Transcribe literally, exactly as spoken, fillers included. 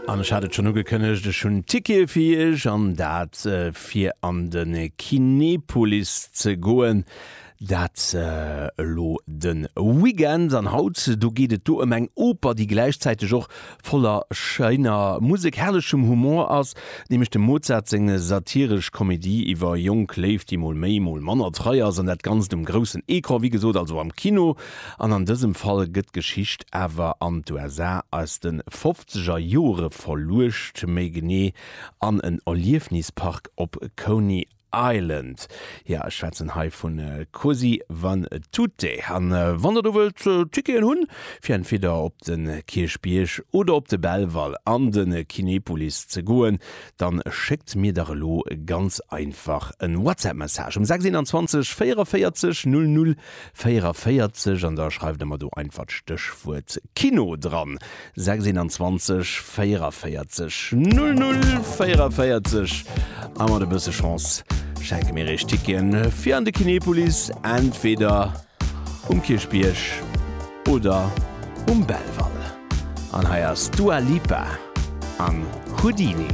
An ech hat et schonn ugekënnegt, ech hunn Tickete fir iech, an dat fir an de Kinepolis ze goen. Dat elo de Weekend. An haut, do geet et do ëm eng Oper, déi gläichzäiteg och voller schéiner Musek, herrlechem Humor ass, nämlech dem Mozart seng satiresch Komedie iwwer jonk Léift, déi mol méi, mol manner trei ass, an dat Ganzt um groussen Ecran, wéi gesot, also am Kino. An an dësem Fall gëtt d'Geschicht awer an d'USA aus de fofzeger Jore verluecht, méi genee an en Erliefnispark op Coney Island. Jo, ech schwätzen hei vu Così fan tutte. An wann der do wëllt Ticketen hunn, fir entweder op de Kierchbierg oder op de Belval an de Kinepolis ze goen, dann schéckt mir dach elo ganz einfach en WhatsApp Message um sechs eenanzwanzeg véierunvéierzeg null null véierunvéierzeg an da schreift der mer do einfach d'Stéchwuert Kino dran. Sechs eenanzwanzeg véierunvéierzeg null null véierunvéierzeg a mat e bësse Chance schenke mir iech Ticketen fir an de Kinepolis, entweder um Kierchbierg oder um Belval. An hei ass d'Dua Lipa an Houdini.